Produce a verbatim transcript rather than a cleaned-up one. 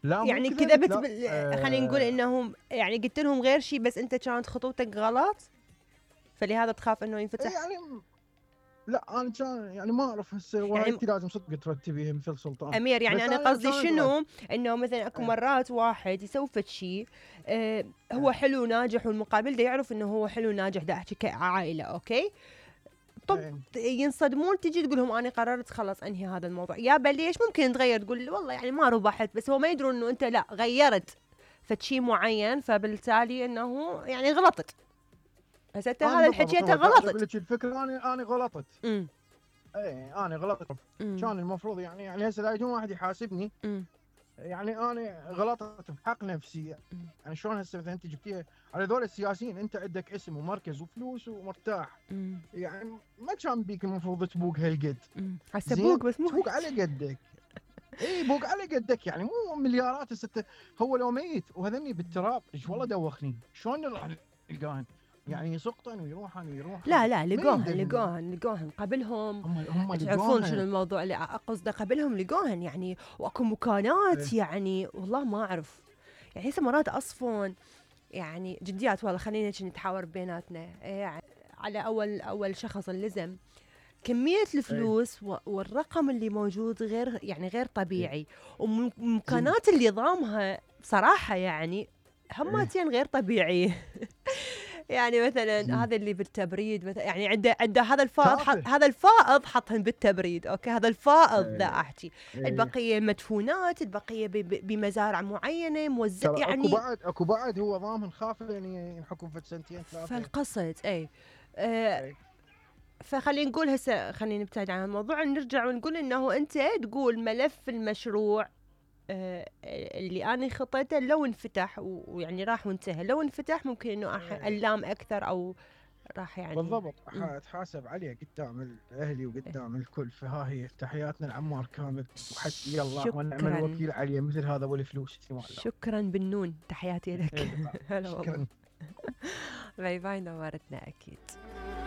لا يعني مو كذبت لا. بال... آه خلينا نقول انهم يعني قلت لهم غير شيء بس انت كانت خطوتك غلط، فلهذا تخاف انه ينفتح. يعني لا انا كان يعني ما اعرف هسه وهاي يعني انت لازم صدق ترتبيها مثل سلطان. امير يعني بس انا انا قصدي كانت غلط. شنو، انه مثلا اكو ايه. مرات واحد يسوي فد شيء آه هو ايه. حلو ناجح والمقابل ده يعرف انه هو حلو ناجح، ده احكي كعائله اوكي. طب ايه. ينصدمون، تجي تقول لهم انا قررت خلاص انهي هذا الموضوع، يا بليش ممكن تغير تقول والله يعني ما ربحت، بس هو ما يدرون انه انت لا غيرت فد شيء معين، فبالتالي انه يعني غلطت. هسه انت انا هذا الحكي بالضبط انت هو دا اقول غلطت. لك الفكره، انا انا غلطت. امم ايه انا غلطت. امم كان المفروض يعني يعني هسه لا يجون واحد يحاسبني، امم يعني انا غلطت بحق نفسي. يعني شلون هسه مثلا انت جبتيها على ذول السياسيين، انت عندك اسم ومركز وفلوس ومرتاح، امم يعني ما كان بيك المفروض تبوق هالقد. امم هسه زين بوق بس مو تبوق على قدك. اي بوق على قدك، يعني مو مليارات هسه. هو لو ميت وهذني بالتراب ايش والله دوخني، شلون راح نلقاهن؟ يعني يسقطن ويروحن ويروحن لا لا من لقوهن يندفنون؟ لقوهن لقوهن قبلهم. هم هم تعرفون شنو لقوها. الموضوع اللي قصده، قبلهم لقوهن يعني، واكو مكانات ايه. يعني والله ما اعرف. يعني هسه مرات اصفن يعني جديات والله، خلينا نتحاور بيناتنا يعني على اول اول شخص اللزم كمية ايه. الفلوس و- والرقم اللي موجود غير يعني غير ايه. طبيعي، زين. ومكانات اللي ضامها بصراحة يعني ايه. همتين غير طبيعية. يعني مثلا زين. هذا اللي بالتبريد مثلا، يعني عنده عنده هذا الفائض حط، تافه. هذا الفائض حطهن بالتبريد اوكي، هذا الفائض ذا ايه. احكي. ايه. البقية مدفونات، البقية ب- ب- بمزارع معينة موزع ترى اكو يعني. بعد اكو بعد هو ضامن خاف يعني ينحكم في سنتين ثلاثه. فالقصد اي آه ايه. فخلينا نقول هسه، خلينا نبتعد عن الموضوع، نرجع ونقول انه انت تقول ملف المشروع آه اللي انا خطيته لو انفتح و- ويعني راح وانتهى، لو انفتح ممكن انه أح- ايه. اللام اكثر او راح يعني. بالضبط مم. اتحاسب عليه قدام اهلي وقدام الكل. فها هي تحياتنا لعمار كامل، وحسبي الله ونعم شكرا الوكيل عليه مثل هذا والفلوس مال الله. شكرا بالنون، تحياتي لك. إيه، هلا والله. شكرا. باي باي، نورتنا اكيد.